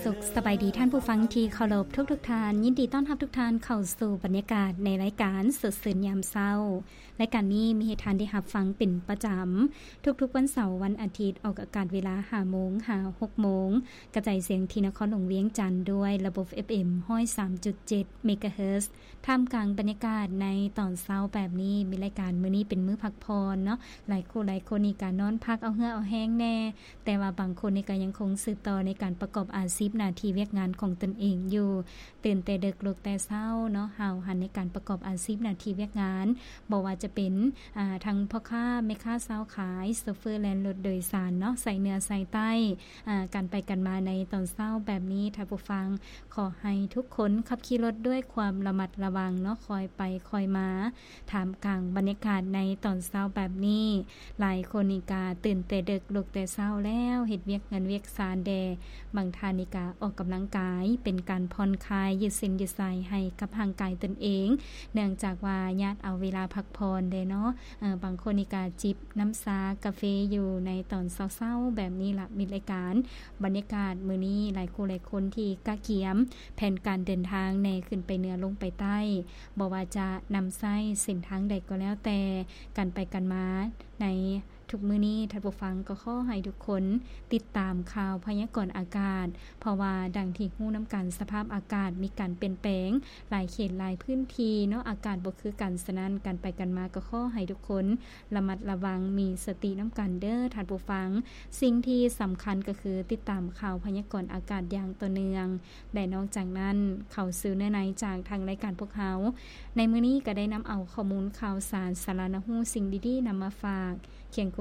ສຸກສະບາຍດີທ່ານຜູ້ຟັງທີ່ເຄົາລົບທຸກໆທ່ານ, ຍິນດີຕ້ອນຮັບທຸກທ່ານເຂົ້າສູ່ບັນຍາກາດໃນລາຍການສົດຊື່ນຍາມເຊົ້າ. ລາຍການນີ້ມີໃຫ້ທ່ານໄດ້ຮັບຟັງເປັນປະຈຳ ທຸກໆວັນເສົາ, ວັນອາທິດ, ອອກອາກາດເວລາຫ້າໂມງຫາຫົກໂມງ, ກະຈາຍສຽງທີ່ນະຄອນຫຼວງວຽງຈັນດ້ວຍລະບົບ ເອັຟເອັມ ຮ້ອຍສາມຈຸດເຈັດ ເມກາເຮີດ. ທ່າມກາງບັນຍາກາດໃນຕອນເຊົ້າແບບນີ້, ມີລາຍການມື້ນີ້ເປັນມື້ພັກຜ່ອນເນາະ, ຫຼາຍຄູ່ຫຼາຍຄົນນີ້ກະນອນພັກເອົາເຫື່ອເອົາແຮງແດ່, ແຕ່ວ່າບາງຄົນນີ້ກະຍັງຄົງສືບຕໍ່ໃນການປະກອບອາຊີບໜ້າທີ່ວຽກງານຂອງຕົນເອງຢູ່. ຕື່ນແຕ່ເດິກ ລຸກແຕ່ເຊົ້າເນາະ, ຫ້າວຫັນໃນການປະກອບອາຊີບໜ້າທີ່ວຽກງານ, ບໍ່ວ່າຈະເປັນ ອາ ທັງພໍ່ຄ້າແມ່ຄ້າຊາວຂາຍ, ໂຊເຟີແລ່ນລົດໂດຍສານເນາະ, ໃສ່ເໜືອໃສ່ໃຕ້, ອາ ການໄປການມາໃນຕອນເຊົ້າແບບນີ້, ທ່ານຜູ້ຟັງ ຂໍໃຫ້ທຸກຄົນຂັບຂີ່ລົດດ້ວຍຄວາມລະມັດລະວັງເນາະ, ຄ່ອຍໄປຄ່ອຍມາ. ທ່າມກາງບັນຍາກາດໃນຕອນເຊົ້າແບບນີ້, ຫຼາຍຄົນນີ້ກະຕື່ນແຕ່ເດິກ ລຸກແຕ່ເຊົ້າແລ້ວ, ເຮັດວຽກເຮືອນວຽກຊານແດ່. ບາງທ່ານນີ້ກະອອກກຳລັງກາຍ ເປັນການຜ່ອນຄາຍ ຢືດເສັ້ນຢືດສາຍໃຫ້ກັບຮ່າງກາຍຕົນເອງ, ເນື່ອງຈາກວ່າຍາດເອົາເວລາພັກຜ່ອນແດ່ເນາະ. ເອີ ບາງຄົນນີ້ກະຈິບນ້ຳຊາກາເຟຢູ່ໃນຕອນເຊົ້າໆແບບນີ້ລະ. ມີລາຍການບັນຍາກາດມື້ນີ້, ຫຼາຍຄູ່ຫຼາຍຄົນທີ່ກະກຽມແຜນການເດີນທາງແດ່, ຂຶ້ນໄປເໜືອລົງໄປໃຕ້, ບໍ່ວ່າຈະນຳໃຊ້ເສັ້ນທາງໃດກໍແລ້ວແຕ່, ການໄປການມາໃນທຸກມື້ນີ້, ທ່ານຜູ້ຟັງ ກໍຂໍໃຫ້ທຸກຄົນຕິດຕາມຂ່າວພະຍາກອນອາກາດ, ເພາະວ່າດັ່ງທີ່ຮູ້ນຳກັນ, ສະພາບອາກາດມີການປ່ຽນແປງຫຼາຍເຂດຫຼາຍພື້ນທີ່ເນາະ, ອາກາດບໍ່ຄືກັນ. ສະນັ້ນ, ການໄປການມາກໍຂໍໃຫ້ທຸກຄົນລະມັດລະວັງ, ມີສະຕິນຳກັນເດີທ່ານຜູ້ຟັງ. ສິ່ງທີ່ສຳຄັນກໍຄືຕິດຕາມຂ່າວພະຍາກອນອາກາດຢ່າງຕໍ່ເນື່ອງ. ແລະ ນອກຈາກນັ້ນ, ເຂົ້າສູ່ເນື້ອໃນຈາກທາງລາຍການພວກເຮົາ. ໃນມື້ນີ້ກໍໄດ້ນຳເອົາຂໍ້ມູນຂ່າວສານ, ສາລະໜ້າຮູ້, ສິ່ງດີໆນຳມາຝາກ, ຄຽງຄູ່